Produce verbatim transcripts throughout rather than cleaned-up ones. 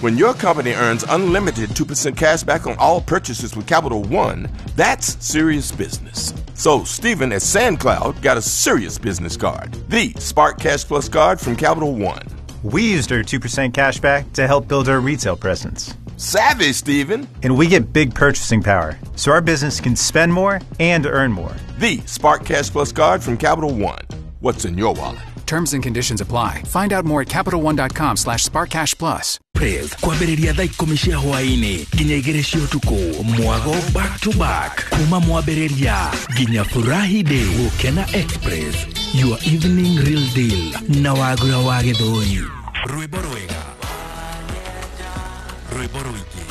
When your company earns unlimited two percent cash back on all purchases with Capital One, that's serious business. So Steven at SandCloud got a serious business card, the Spark Cash Plus card from Capital One. We used our two percent cash back to help build our retail presence. Savvy, Steven. And we get big purchasing power, so our business can spend more and earn more. The Spark Cash Plus card from Capital One. What's in your wallet? Terms and conditions apply. Find out more at Capital One dot com slash Spark Cash Plus. Press kwambĩrĩria thaa ikũmi cia hwaĩ-inĩ nginya igĩrĩ cia ũtukũ, mwago back to back kuma mwambĩrĩria nginya furahi day. Gũkena Express, your evening real deal na Wagura wa Gĩthũri. Rwĩmbo rwega, rwĩmbo rũingĩ,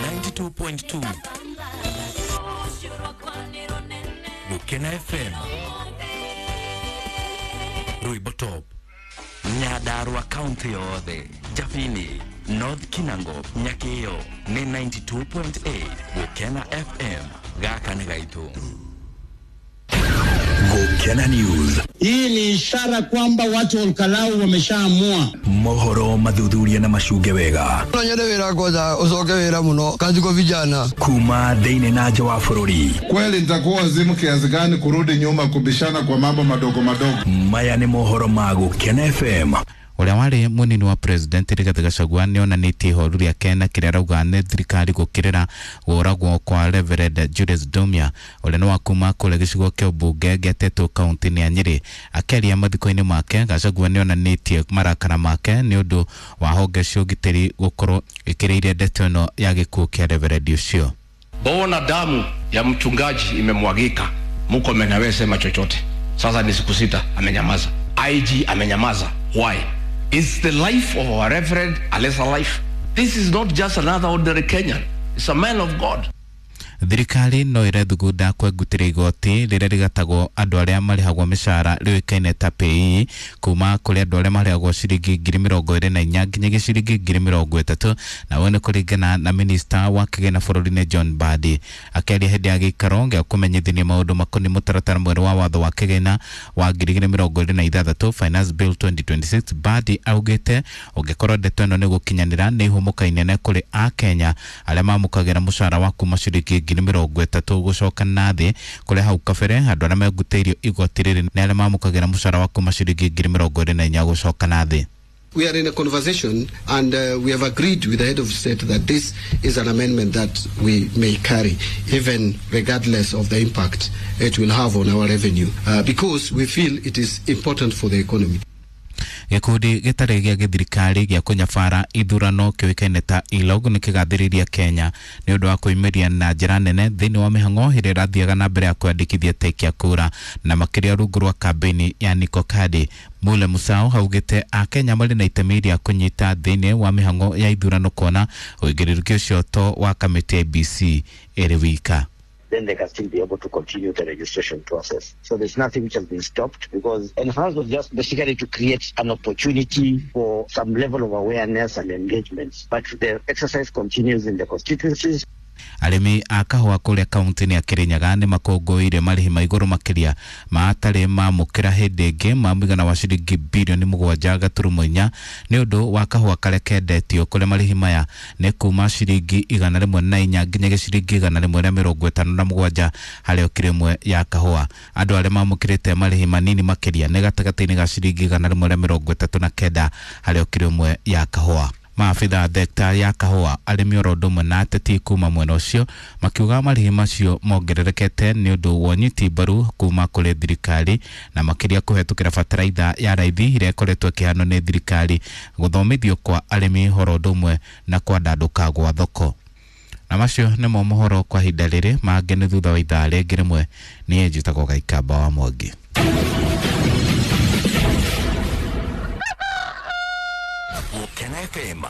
ninety-two point two Gũkena F M, rwĩmbo top. Nyandarua kaunti yothe, Jabini, North Kinango, Nyakio nĩ ninety-two point eight Gũkena F M. Gaka nĩ gaitũ. Gũkena News. Hii ni ishara kwamba watu wa Olkalou wameshaamua. Mohoro mathuthuria na macunge wega. No nyende wĩra kwanza ũcoke wĩra mũno kazi kwa vijana. Kuma thĩinĩ na nja wa bũrũri. Kweli nitakuwa wazimu kiasi gani kurudi nyuma kubishana kwa mambo madogo madogo? Maya nĩ mohoro ma Gũkena F M. Ũrĩa warĩ mũnini wa president Rigathĩ Gachagua nĩ onanĩtie ihoru rĩake na kĩrĩa arauga nĩ thirikari gũkĩrĩra kũragwo kwa Reverend Julius Ndumia, ũrĩa nĩ wa kuma kũrĩa gĩcigo kĩa ũmbunge gĩa Tetu kaunti-inĩ ya Nyĩrĩ. Akĩaria mathiko-inĩ make, Gachagua nĩ onanĩtie marakara make nĩ ũndũ wa honge cia ũgitĩri gũkorwo ĩkĩrĩire ndeto ĩno ya gĩkuũ kĩa Reverend ũcio. Mbona damu ya mchungaji imemwagika? Murkomen hawezi sema chochote. Sasa ni siku sita amenyamaza. I G amenyamaza. Why? Is the life of our reverend a lesser life? This is not just another ordinary Kenyan. It's a man of God. Thirikari no ĩrethugunda kwengutĩra igoti rĩrĩa rĩgatagwo andũ arĩa marĩhagwo mĩcara rĩũĩkaine ta P A Y E kuma kũrĩ andũ arĩa marĩhagwo ciringi ngiri mĩrongo ĩrĩ na inya nginyagia ciringi ngiri mĩrongo ĩtatũ, na ũyũ nĩ kũringana na minista wa kĩgĩna bũrũri-inĩ John Mbadi. Akĩaria hĩndĩ ya gĩikaro gĩa kũmenyithania maũndũ makoniĩ mũtaratara mwerũ wa watho wa kĩgĩna wa ngiri igĩrĩ mĩrongo ĩrĩ na ithathatũ, Finance Bill twenty twenty-six, Mbadi augĩte ũngĩkorwo ndeto ĩno nĩ gũkinyanĩra nĩ ihũmũka inene kũrĩ akenya arĩa mamũkagĩra mũcara wa kuma ciringi ngiri mĩrongo ĩtatũ gũcoka na thĩ, kũrĩa hau kabere andũ arĩa mengutĩirio igoti rĩrĩ nĩ arĩa mamũkagĩra mũcara wa kuma ciringi ngiri mĩrongo ĩrĩ na inya gũcoka na thĩ. We are in a conversation and uh, we have agreed with the head of state that this is an amendment that we may carry, even regardless of the impact it will have on our revenue, uh, because we feel it is important for the economy. Gĩkundi gĩtarĩ gĩa gĩthirikari gĩa kũnyabara ithurano kĩũĩkaine ta ILOG nĩ kĩgathĩrĩirie Kenya nĩ ũndũ wa kwĩyumĩria na njĩra nene thĩinĩ wa mĩhang'o ĩrĩa ĩrathiaga na mbere ya kwĩandĩkithia tekia kura, na makĩria rungu rwa kambĩini ya Niko Kadi. Mule Musau augĩte akenya marĩ na itemi rĩa kũnyita thĩinĩ wa mĩhang'o ya ithurano kuona ũigĩrĩrĩki ũcio to wa kamĩtĩ ya I E B C ĩrĩ wika. Then they can still be able to continue the registration process. So there's nothing which has been stopped because enhanced was just basically to create an opportunity for some level of awareness and engagement. But the exercise continues in the constituencies. Arĩmi a kahũa kũrĩa kaunti-inĩ ya Kĩrĩnyaga nĩ makũngũĩire marĩhi ma igũrũ makĩria ma atarĩ mamũkĩra hĩndĩ ĩngĩ ma mũigana wa ciringi birioni mũgwanja gaturumo inya nĩ ũndũ wa kahũa karĩa kendetio, kũrĩa marĩhi maya nĩ kuma ciringi igana rĩmwe na inya nginyagia ciringi igana rĩmwe rĩa mĩrongo ĩtano na mũgwanja harĩ o kiro ĩmwe ya kahũa. Andũ arĩa mamũkĩrĩte marĩhi manini makĩria nĩ gatagatĩ-inĩ ga ciringi igana rĩmwe rĩa mĩrongo ĩtatũ na kenda harĩ o kiro ĩmwe ya kahũa. Maabitha thekta ya kahũa, arĩmi oro ũndũ ũmwe na ateti kuma mwena ũcio makiuga marĩhi macio mongererekete nĩ ũndũ wa ũnyiti mbaru kuma kũrĩ thirikari, na makĩria kũhetũkĩra bataraitha ya raithi ĩrĩa ĩkoretwo ĩkĩheanwo nĩ thirikari, gũthomithio kwa arĩmi oro ũndũ ũmwe na kwandandũka gwa thoko. Na macio nĩmo mohoro kwa ihinda rĩrĩ. Mangĩ nĩ thutha wa ithaa rĩngĩ rĩmwe. Niĩ njĩtagwo Gaikamba wa Mwangi. Gũkena F M.